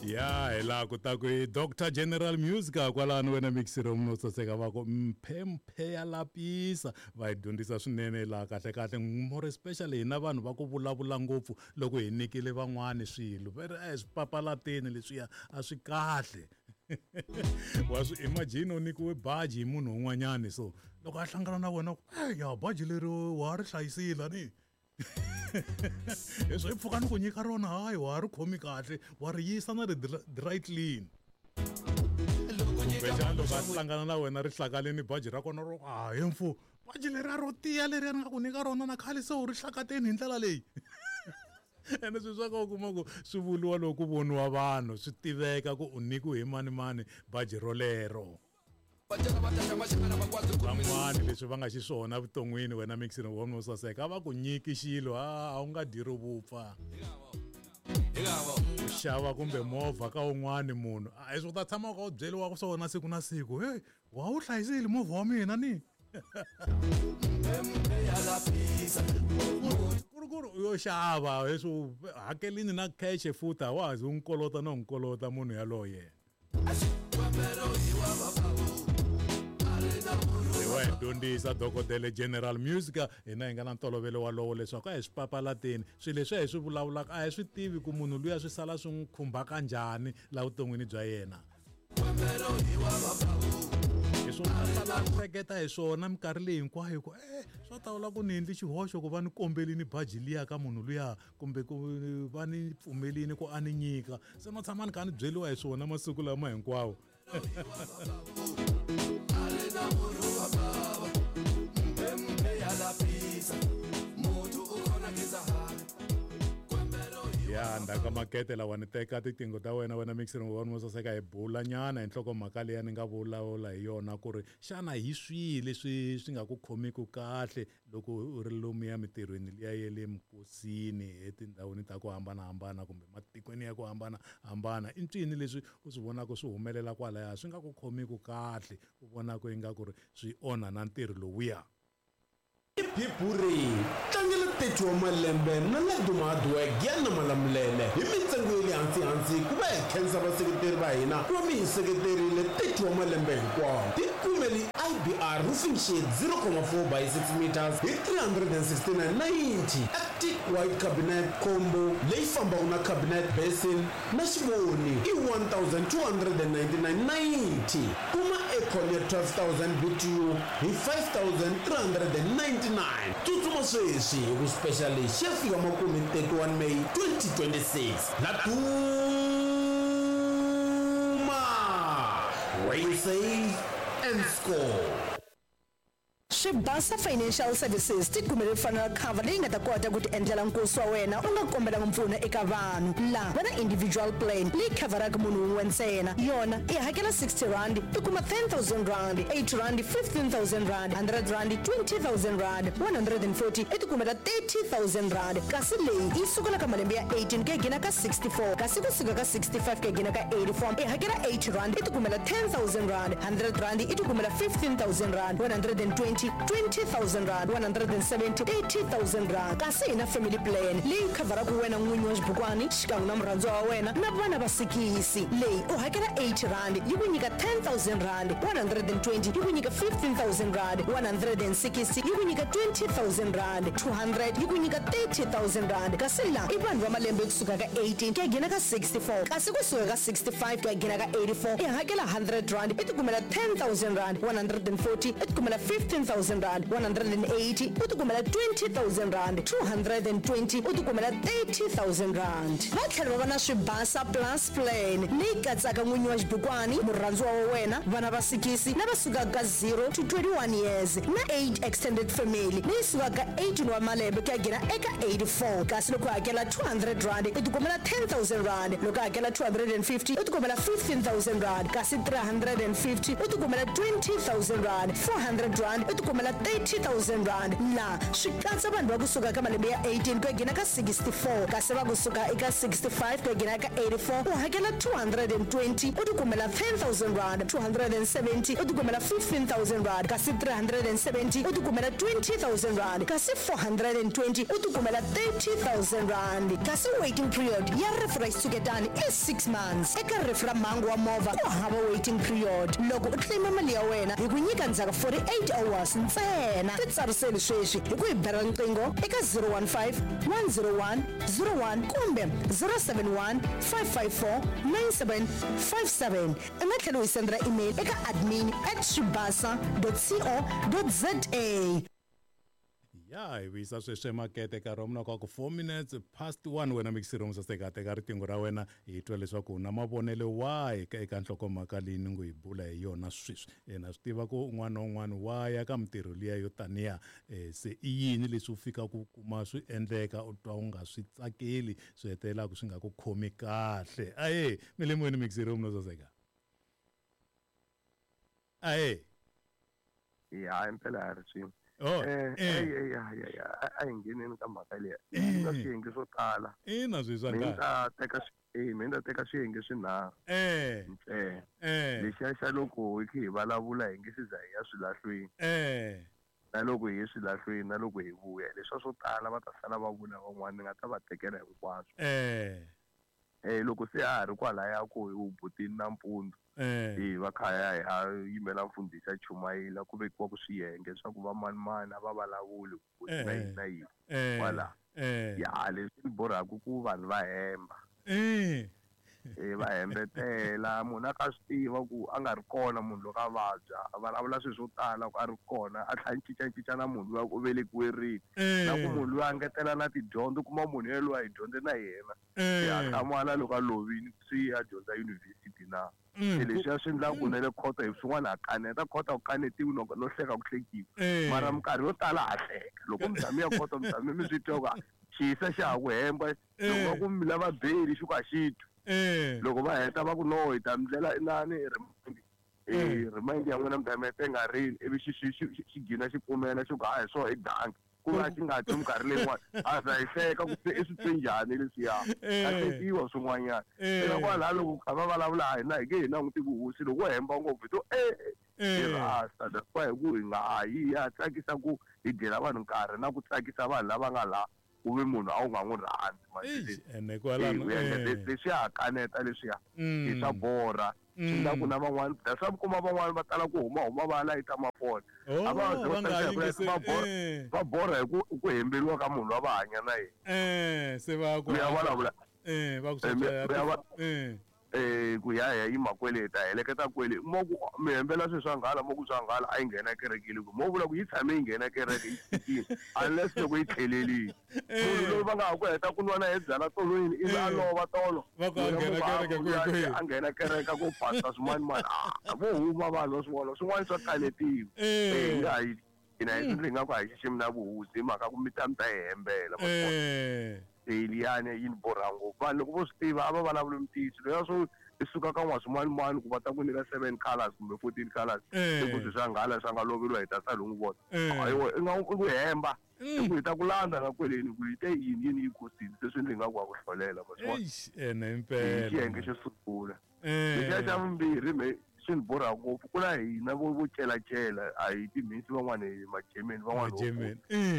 Ya hi laha ku ta ku i Dr General Music kwalano wena mixiro munhu saseka va ku mphemphe ya lapisa va hi dyondzisa swinene laha kahle kahle more especially hina vanhu va ku vulavula ngopfu loko hi nyikile van'wani swilo va ri a hi swi papalateni leswiya a swi kahle. Wa swi imagine u nyikiwe baji hi munhu un'wanyani so loko a hlangana na wena ku ya baji leri wa ri hlayisile ni leswi hi pfuka ni ku nyika rona hayi wa ri khomi kahle wa ri yisa na ri dry clean. Kumbexana loko a hlangana na wena ri hlakaleni baji ra kona ro a he mfu baji leri a ro tiya leri a ni nga ku nyika rona na khale se u ri hlakateni hi ndlela leyi. Ene swilo swa ka u kuma ku swi vuriwa loko ku voniwa vanhu swi tiveka ku u nyikiwe hi mani mani baji rolero. Van'wani leswi va nga xiswona evuton'wini wena mixini wa wo saseka a va ku nyiki xilo a wu nga dyi ro vupfa. Ku xava kumbe movha ka un'wani munhu a hi swi u ta tshama u kha u byeriwa swona siku na siku heyi wa wu hlayisile movha wa mina ni. Ku ri ku ri u yo xava leswi hakelini na cash futhi a wa ha zi u n'wi kolota no n'wi kolota munhu yaloye. Wa hi dyondzisa dokodela General Music hina hi nga na ntolovelo walowo leswaku a hi swi papalateni swilo leswi a hi swi vulavulaka a hi swi tivi ku munhu luya swi sala swi n'wi khumbaka njhani laha vuton'wini bya yena. Hi swona sala hleketa hi swona minkarhi leyi hinkwayo ku e swa tawula ku ni endli xihoxo ku va ni kombelini baji liya ka munhu luya kumbe ku va ni pfumelini ku a ni nyika se no tshama ni kha ni byeriwa hi swona masiku lama hinkwawo. Ya ndzhaku ka makete lawa ni teka tiqingho ta wena wena mixing wa wo saseka hi bula nyana hi nhlokomhaka leyi ni nga vulavula hi yona ku ri xana hi swihi leswi swi nga ku khomiki kahle loko u ri lomuya mintirhweni liya ya le minkosini etindhawini ta ku hambanahambana kumbe matikweni ya ku hambanahambana i ncini leswi u swi vonaka swi humelela kwalaya swi nga ku khomiki kahle u vonaka ingaku ri swi onha na ntirho lowuya. Biburi tlangela 30 wa malembe na Laduma Hardwork ya na Malamulele hi mintsengo ya le hansi-hansi ku va hi khensa vaseketeri va hina ku va mi hi seketerile 30 wa malembe hinkwawo. Tikumeli IBR roofing sheet 0.4 by 6 meters hi 369.90, Arctic white cabinet combo leyi fambaka na cabinet basin na xivoni i 1299.90. Kuma aircon ya 12000 BTU hi 5399. Tsutsuma sweswi hi ku special lexi xi ya fika makumu hi 31 May 2026. Laduma, where you save and score. Swibasa Financial Services ti kumele funeral cover leyi nga ta kota ku ti endlela nkosi wa wena u nga kombelanga mpfuno eka vanhu. La va na individual plan leyi khavharaka munhu wun'we ntsena. Yona i hakela R60 i kuma R10,000, R80 R15,000, R100 R20,000, 140 i ti kumela R30,000. Kasi leyi yi sukela ka malembe ya 18 ku ya gina ka 64, kasi ku suka ka 65 ku ya gina ka 84 i hakela R80 i ti kumela R10,000, R100 i ti kumela R15,000, 120 R20,000, 170 R30,000. Kasi hi na family plan leyi khavharaka wena n'winyi wa xibukwani xikan'we na murhandziwa wa wena na vana va sikisi. Leyi u hakela R80 yi ku nyika R10,000, 120 yi ku nyika R15,000, 160 yi ku nyika R20,000, 200 yi ku nyika R30,000. Kasi la i vanhu va malembe kusuka ka 18 ku ya gina ka 64, kasi kusuka ka 65 ku ya gina ka 84 i hakela R100 i tikumela R10,000, 140 i tikumela R15,000, 180 u tikumela R20,000, 220 u tikumela R30,000. Va tlhela va va na Swibasa Plus Plan leyi katsaka n'winyi wa xibukwani, murhandziwa wa wena, vana va sikisi lava sukaka ka 0 to 21 years na 8 extended family leyi sukaka ka 18 wa malembe ku ya gina eka 84. Kasi loko u hakela R200 u tikumela R10,000, loko u hakela 250 u tikumela R15,000, kasi 350 u tikumela R20,000, R400 u tikumela tikumela 30000 rand. Laha swi katsa vanhu va kusuka ka malembe ya 18 ku ya nghena ka 64, kasi va kusuka eka 65 ku ya nghena ka 84 u hakela 220 u tikumela 10000 rand, 270 u tikumela 15000 rand, kasi 370 u tikumela 20000 rand, kasi 420 u tikumela 30000 rand. Kasi waiting period ya rifu ra xitshuketani i 6 months. Eka rifu ra mhangu wa movha ku hava waiting period. Loko u claim mali ya wena hi ku nyika ndzhaku 48 hours ntsena. Titsariseli sweswi hi ku hi bela riqingho eka 015 101 01 kumbe 071 554 9757. U nga tlhela u hi sendela email eka admin at swibasa co za. Ya hi vuyisa sweswi emakete nkarhi wa mina ku 4 minutes past 1. Wena mixiro musaseka, teka riqingho ra wena hi twa leswaku u na mavonelo wahi eka nhlokomhaka leyi ni ngo hi bula hi yona sweswi. Na swi tiva ku un'wana na un'wana wa ya ka mintirho liya yo taniya, se i yini leswi u fikaka ku kuma swi endleka u twa u nga swi tsakeli, swi hetelelaka swi nga ku khomi kahle. Aye mi le moyeni mixiro musaseka. Aye ya impela ya ri swin'we. Oh, A hi ngheneni ka mhaka leyi na swiyenge swo tala. Ina swi swa Mina ta teka mina ta teka swiyenge swinharhu ntsena. Lexiya xa loko hi kha hi vulavula hi nge se za hi ya swilahlweni, na loko hi ye swilahlweni, na loko hi vuya, leswiya swo tala va ta sala va vula van'wana, ni nga ta va tekela hinkwaswo. Loko se a ha ri kwalaya ku hi butini nampundzu, hi va khaya hi ya yimela mfundhisi a chumayela, ku vekiwa ku swiyenge swa ku va manimani a va vulavuli ku na yini na yini kwala. Ya leswi ni borhaka ku vanhu va hemba. Va hembetela, munhu a ka swi tiva ku a nga ri kona munhu loko a vabya, a vulavula swilo swo tala ku a ri kona, a tlhela a cincacinca na munhu luya ku u velekiwe rini, na ku munhu luya a ngetela na tidyondzo, u kuma munhu yelweyo a hi dyondze na yena, se a hlamala loko a lovile swi ya dyondza yunivhesiti na. Se leswiya swi endlaka ku na le khoto hi swin'wana ha kaneta, khoto a ku kanetiwi no hleka ku hlekiwa, mara minkarhi yo tala ha hleka. Loko mi tshame ya khoto mi tshame mi swi twa ku xiyisa xa ha ku hemba, loko va ku mi lava beli xi ku a xi twi. Loko va heta va ku no hi ta mi ndlela inani remind, remind ya n'wina mi ta mi tenga rini, ivi xi gina xi pfumela xi ku hayi swo i danki, ku va xi nga twi minkarhi leyin'wana a za hi hleka ku se i swi twe njhani leswiya, a hlekiwa swin'wanyana. Eka kwalaho loko kha va vulavula ha hina hi nge hi languti vuhosi, loko wo hemba ngopfu hi to hi rasta, that's why hi ku hi nga ha yi ya tsakisa ku hi dyela vanhu nkarhi na ku tsakisa vanhu lava nga laha ku ve munhu a wu nga n'wi rhandzi. Ene kwalano leswiya ha kaneta leswiya hi swa borha, swi endla ku na van'wana that's why mi kuma van'wana va tala ku huma va ya layita mafoni, a va va borha hi ku hemberiwa ka munhu loyi va hanya na yena. Se va ku ya vulavula va ku ku ya ya yima kwele hi ta heleketa kwele, mo ku mi hembela swilo swa nghala, mo ku swa nghala a yi nghena kerekeni, ku mo vula ku yi tshame yi nghena kereke yi tshikile unless loko yi tlhelelile. Munhu loyi va nga ha ku heta ku nwa na hi byala tolweni ivi a lova tolo, va ku a nghena kereke kwihi, a nghena kereke ku phasa swin'wana vo huma vanhu va swin'wana swin'wana swa kanetiwa. Hi nga hi hina hi swi nga ku a hi xiximi na vuhosi hi mhaka ku mi ta mi ta hi hembela. Liyani yi ni borha ngopfu, vanhu loko vo swi tiva a va vulavuli mintiyiso loya swo i suka ka n'waswimanimani ku va ta ku nyika 7 colors kumbe 14 colors, i ku swi swa nghala swa nga loveriwa hi ta sala u n'wi vona. I nga i ku hemba, i ku hi ta ku landza na kweleni ku hi te yini yini yi kosini, se swi endle nga ku wa ku hlolela. Ene impela xiyenge xo sungula. Lexiya xa vumbirhi me swi ni borha ngopfu, ku na hina vo celacela, a hi timhisi van'wana hi majemeni van'wana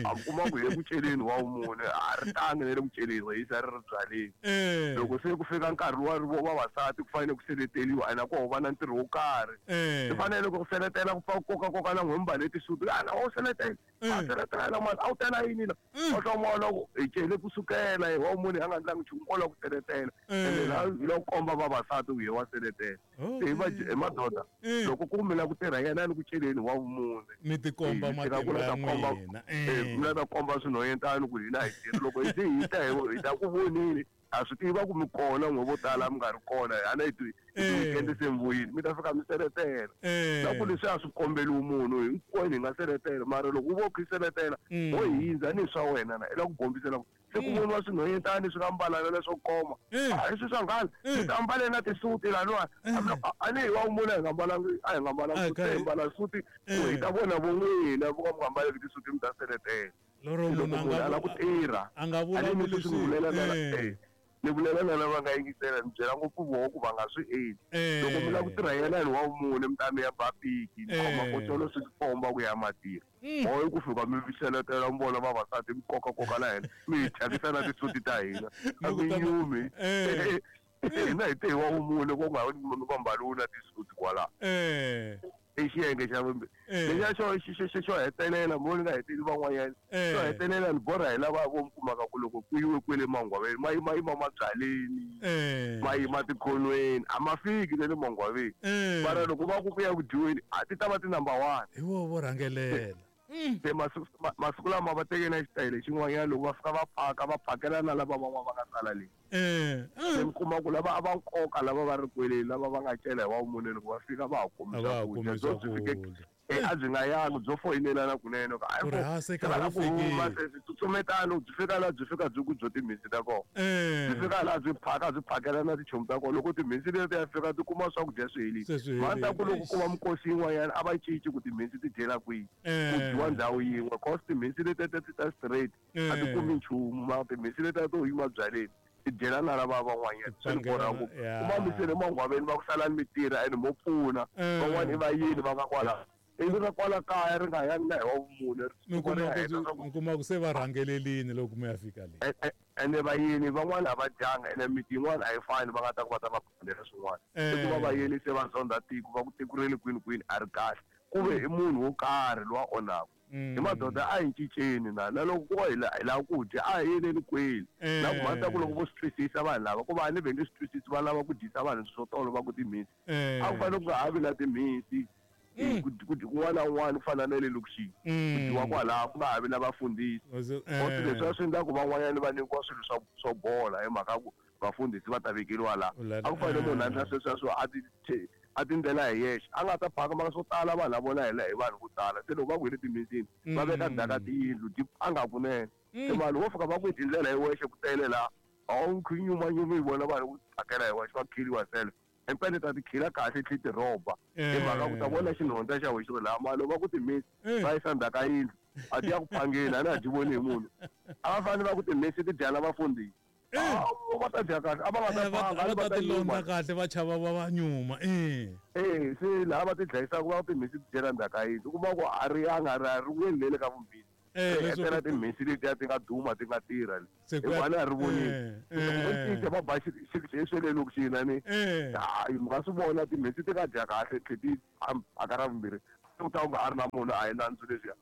a kuma ku hi ku celeni wa mune a ri tangi na le ku celeni hi yisa ri ri byaleni. Loko se ku fika nkarhi wa vavasati ku fanele ku seleteliwa, ene ko va na ntirho wo karhi, swi fanele ku seletela ku pfa koka koka na n'hwemba leti suti, ana wo seletela a seletela mani a wu tela yini la, o hloma loko hi cele kusukela hi wa mune a nga ndlangi nchumu ko la ku seletela, ene la hi la ku komba vavasati ku hi wa seletela. Se hi madoda loko ku mi la ku tirha yena ni ku celeni wa vumune, mi tikomba matimba ya n'wina, mi la ta komba swinhwanyetani ku hina hi tirhi, loko hi se hi ta hi ta ku voneni. Ha swi tiva ku mi kona n'we vo tala mi nga ri kona a na hi ti-weekend se mi vuyile mi ta fika mi seletela. Na ku leswi a swi kombeliwi munhu hinkwenu hi nga seletela, mara loko u vo khi seletela ho hindza ni swa wena na i la ku bombisela se ku voniwa swinhwanyetani swi nga mbalana leswo koma. A hi swi swa nghala mi ta mbale na tisuti laniwa, a ni hi wa munhu a hi nga mbalangi, a hi nga mbalanga suti, hi mbala suti ku hi ta vona vo n'wina vo ka mi nga mbaleki tisuti mi ta seletela. Lero munhu a nga ku tirha a nga vulavuli swilo, ni vulela na lava nga yingisela, ni byela ngopfu voho ku va nga swi endli. Loko mi lava ku tirha yena hi wa mune mi ta mi ya ba piki, mi khoma kotolo swi komba ku ya matirha. Hoyi ku fika mi seletela mi vona vavasati mi kokakoka la hina mi hi thyakisa na tisuti ta hina, a mi nyumi. Hina hi te hi wa vumune ku nga va mbaliwi na tisuti kwalaho. I xiyenge xa vumbirhi. Lexiya xo xo hetelela mo ni nga heteli van'wanyana, xo hetelela ni borha hi lava vo mi kumaka ku loko ku yiwe kwele mangwaveni ma yima yima mabyaleni, ma yima tikhonweni, a ma fiki na le mangwaveni, mara loko va ku ku ya ku dyiweni a ti ta va ti number 1. Hi voho vo rhangelela. Se masiku lama va teke na xitayele xin'wanyana, loko va fika va phaka va phakela na lava van'wana va nga sala le. Se mi kuma ku lava a va nkoka lava va ri kwele lava va nga cela hi wa vumune loko va fika va ha komi swakudya byo byi fike a byi nga yangi byo foyinelana kunene ku a ku huma se swi tsutsumetana byi fika laha byi fika byi ku byo timhinsi ta kona, byi fika laha byi phaka byi phakela na tichomi ta kona. Loko timhinsi leti ya fika ti kuma swakudya swi helile, va ta ku loko ku va mikosi yin'wanyana a va cinci ku timhinsi ti dyela kwihi, ku dyiwa ndhawu yin'we, cause timhinsi leti ti ta straight a ti kumi nchumu, mara timhinsi leti to yima byaleni ti dyela na lava van'wanyana. Swi ni borha ngopfu kuma mi sele mangwaveni va ku salani mi tirha ene mo pfuna van'wana i va yini va nga kwala ivi ra kwala kaya ri nga yangi na hi wa vumune. Mi kuma ku se va rhangelelini loko mi ya fika le. Ene vayeni van'wana a va dyanga, ene miti yin'wana a yi fani, va nga ta ku va ta va phundela swin'wana. I ku va vayeni se va zondha tiko, va ku tiko ra le kwini kwini a ri kahle, ku ve i munhu wo karhi lowa onhaka. Hi madoda a hi cinceni na na loko ku hi lava ku dya a hi yeleni kweli. Na ku mhaka ku loko vo swi twisisa vanhu lava ku va ni ve nge swi twisisi, va lava ku dyisa vanhu swo tolo va ku timhinsi, a ku fanele ku nga ha vi na timhinsi kun'wana na un'wana ku fana na le lokixini, ku dyiwa kwalaho ku nga ha vi na vafundhisi. Cause leswi a swi endla ku van'wanyana va nyikiwa swilo swo bola hi mhaka ku vafundhisi va ta vekeriwa laha. A ku fanele munhu a endla sweswo a tindlela hi yexe, a nga ta phaka maka swo tala vanhu lava vona hela hi vanhu vo tala. Se loko va ku hi le timhinsini va veka ndzhaka tiyindlu ti a nga kunene, se vanhu vo fika va ku hi tindlela hi wexe ku tele laha a wu khi nyumanyumi hi vona vanhu ku phakela hi wexe va kill yourself. Empene ta ti khila kahle tlhe ti rhoba hi mhaka ku ta vona xinhondza xa wexe laha mali va ku timhinsi va yisa ndzhaka yindlu a ti ya ku phangeni a na ha dyi voni hi munhu. A va fanele va ku timhinsi ti dya na vafundhisi, va ta dya kahle, a va nga ta phanga, va ta ti londza kahle, va chava va va nyuma. Se laha va ti dlayisaka va ku timhinsi ti dyela ndzhaka yindlu, u kuma ku a ri yanga a ri weli le ka vumbhisi. Etela timhinsi letiya ti nga duma ti nga tirha le, hikuva a ni a ri vonile loko vo cinca va ba swe le lokixini a ni hayi mi nga swi vona timhinsi ti nga dya kahle tlhe ti phaka ra vumbirhi, u ta u nga ha ri na munhu a hi nandzu leswiya.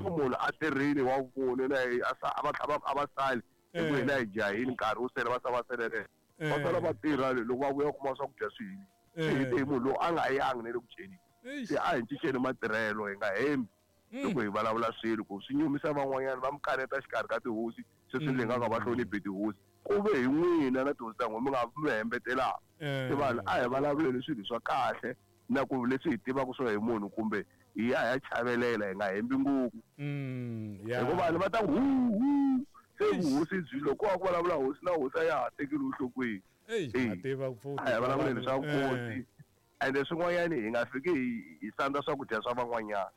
So munhu a tirhile wa vumune na a va sali hi ku hina hi jahile nkarhi wu sele va sa va selelele va sala va tirha loko va vuya kuma swakudya swi heli. Swi hete hi munhu lowu a nga yangi na le ku dyeni. Se a hi cinceni matirhelo, hi nga hembi loko hi vulavula swilo ku swi nyumisa van'wanyana va mi kaneta xikarhi ka tihosi, sweswi ni nga ka va hloniphi tihosi ku ve hi n'wina na tihosi ta n'wina mi nga mi hembetelaka. Se vanhu a hi vulavuleni swilo swa kahle na ku leswi hi tivaka swo hi munhu kumbe hi ya hi ya chavelela, hi nga hembi ngopfu. Hikuva vanhu va ta ku hu hu se vuhosi byi loko wa ku vulavula hosi na hosi a ya ha tekeli enhlokweni. A hi vulavuleni swa nkosi. Ende swin'wanyana hi nga fiki hi sandza swakudya swa van'wanyana.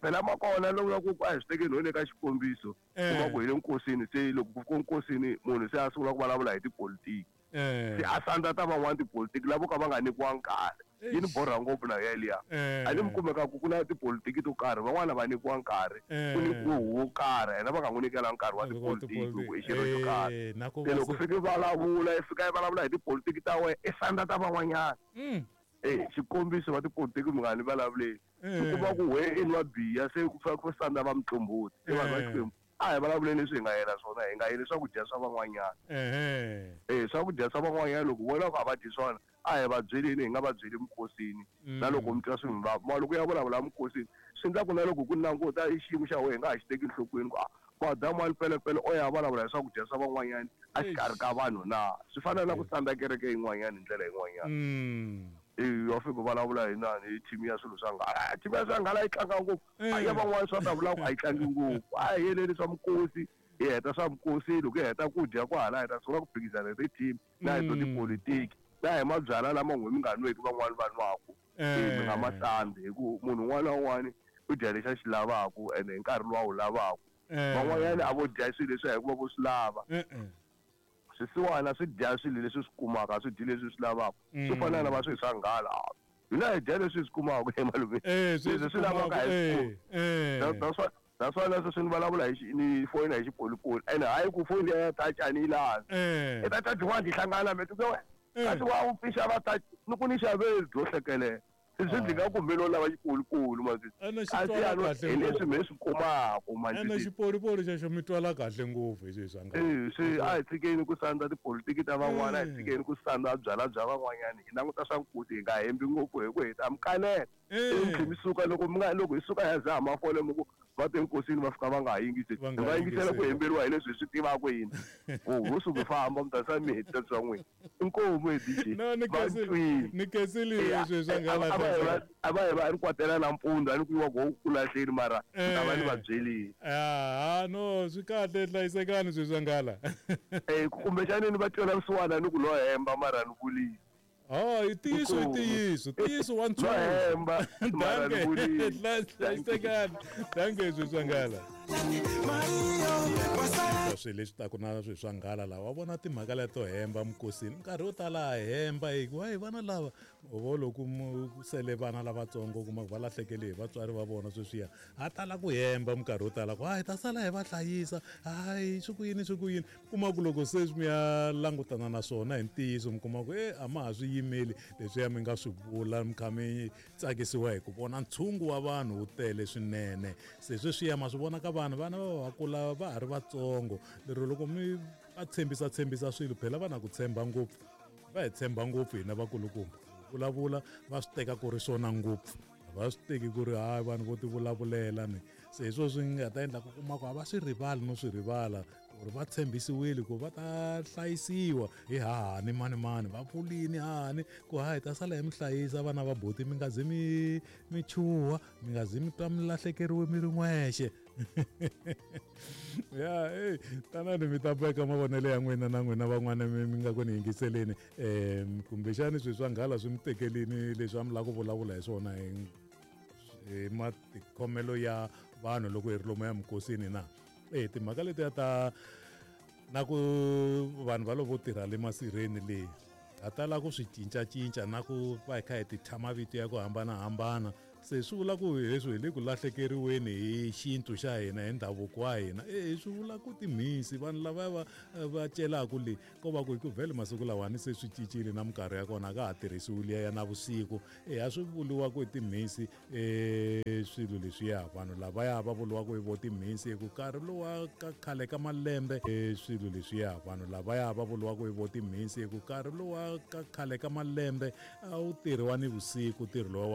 Phela makona loko ku a hi swi tekeni ho le ka xikombiso, kuma ku hi le nkosini, se loko ku fika nkosini munhu se a sungula ku vulavula hi tipolitiki, se a sandza ta van'wana tipolitiki lavo ka va nga nyikiwa nkarhi. Yi ni borha ngopfu na yeliya. A ni mi kumeka ku ku na tipolitiki to karhi van'wana va nyikiwa nkarhi, ku nyikiwe huvo karhi yena va nga n'wi nyikela nkarhi wa tipolitiki loko i xirho xo karhi. Se loko fike vulavula i fika i vulavula hi tipolitiki ta wena i sandza ta van'wanyana. Xikombiso va tipolitiki mi nga ni vulavuleli, i kuma ku we i nwa biya se ku fika ku sandza va muqombhoti. Se vanhu va Xikwembu a hi vulavuleni leswi hi nga yela swona, hi nga yeli swakudya swa van'wanyana. Swakudya swa van'wanyana loko vona ku a va dyi swona a hi va byeleni, hi nga va byeli minkosini. Na loko mi twa swi mi vava, mara loko ya vulavula minkosini swi endla ku na loko ku languta i xiyimo xa wena hi nga ha xi teki enhlokweni ku a Madamu wa Pelepele o ya vulavula hi swakudya swa van'wanyana a xikarhi ka vanhu na swi fana na ku sandza kereke yin'wanyana hi ndlela yin'wanyana. Wa fika vulavula hi nani hi team ya swilo swa nghala. Team ya swa nghala yi tlanga ngopfu. Ya van'wana swa ta vula ku a yi tlangi ngopfu. A hi yeleli swa mikosi, hi heta swa mikosi loko hi heta ku dya kwahala hi ta sungula ku phikizana hi ti-team na hi to tipolitiki na hi mabyalwa lama n'we mi nga nweki van'wani va nwaku. Mi nga ma sandzi hi ku munhu un'wana na un'wana u dya lexi a xi lavaka ene hi nkarhi lowu a wu lavaka. Van'wanyana a vo dya swilo leswi hikuva vo swi lava. Swisiwana swi dya swilo leswi swi kumaka, swi dyi leswi swi lavaka. Swi fana na va swilo swa nghala. Hina hi dya leswi swi kumaka emaloveni. Leswi swi lavaka hi swi. That's why leswi swi ni vulavula hi ni foyina hi xipolipoli. Ene hayi ku foyini ya touch a ni yi lavi. I ta touch one ti hlangana me tuke kasi wa wu pfixa va touch ni ku ni xaveli byo hlekelela. Swi ndzi nga kumbe no lava xipolipoli manje. Kasi hi leswi mi swi kumaka manje. Ene xipolipoli xexo mi twala kahle ngopfu hi swilo swa nghala. Swi a hi tshikeni ku sandza tipolitiki ta van'wana, a hi tshikeni ku sandza byalwa bya van'wanyana. Hi languta swa nkosi hi nga hembi ngopfu hi ku hi ta mi kanela. Mi suka loko mi nga loko hi suka ya za mafole mi ku va te nkosini va fika va nga ha yingisi. Hi va yingisela ku hemberiwa hi leswi hi swi tivaka hina. Ho suka famba mi ta sa mi hetisa swa n'wina. Inkomu hi DJ. No ni kenseli ni kenseli leswi swa nghala. A va hi va ri kwatela nampundzu a ni ku yiwa go ku lahleni mara ni ta va ni va byelile. Ah no swi kahle hlayisekani swilo swa nghala. Kumbexani ni va twela vusiwana ni ku lo hemba mara ni vulile. Oh, i ntiyiso i ntiyiso ntiyiso wa ntshungu. Danke. Hlayisekani. Danke swilo swa nghala. Swilo leswi taku na swilo swa nghala lawa wa vona timhaka leto hemba mikosini minkarhi yo tala a hemba hi ku hayi vana lava vo loko sele vana lavatsongo kuma ku va lahlekele hi vatswari va vona sweswiya ha tala ku hemba minkarhi yo tala ku hayi ta sala hi va hlayisa hayi swi ku yini swi ku yini kuma ku loko se mi ya langutana na swona hi ntiyiso mi kuma ku e a ma ha swi yimeli leswiya mi nga swi vula mi kha mi tsakisiwa hi ku vona ntshungu wa vanhu wu tele swinene se sweswiya ma swi vona ka vanhu vana va va kula va ha ri vatsongo lero loko mi va tshembisa tshembisa swilo phela va na ku tshemba ngopfu va hi tshemba ngopfu hina vakulukumba vulavula va swi teka ku ri swona ngopfu va swi teki ku ri hayi vanhu vo ti vulavulela ni se hi swo swi nga ta endla ku kuma ku a va swi rivali no swi rivala ku ri va tshembisiwile ku va ta hlayisiwa hi hahani mani mani va pfulini hahani ku hayi ta sala hi mi hlayisa vana va buti mi nga zi mi mi chuha mi nga zi mi twa mi lahlekeriwe mi ri n'wexe. Ya ey tanani mi ta veka mavonelo ya n'wina na n'wina van'wana mi nga ku ni yingiseleni kumbexani swilo swa nghala swi mi tekelini leswi a mi lava ku vulavula hi swona hi matikhomelo ya vanhu loko hi ri lomu ya mikosini na timhaka letiya ta na ku vanhu va lovo tirha le masirheni leyi ha tala ku swi cincacinca na ku va hi kha hi ti thya mavito ya ku hambanahambana se swi vula ku leswi hi le ku lahlekeriweni hi xintu xa hina hi ndhavuko wa hina swi vula ku timhisi vanhu lava va va celaka le ko va ku hi ku vhele masiku lawani se swi cincile na minkarhi ya kona a ka ha tirhisiwi liya ya navusiku a swi vuriwa ku i timhisi swilo leswiya vanhu lavaya va vuriwa ku i vo timhisi hi ku nkarhi lowa ka khale ka malembe swilo leswiya vanhu lavaya va vuriwa ku i vo timhisi hi ku nkarhi lowa ka khale ka malembe a wu tirhiwa ni vusiku ntirho lowa wa.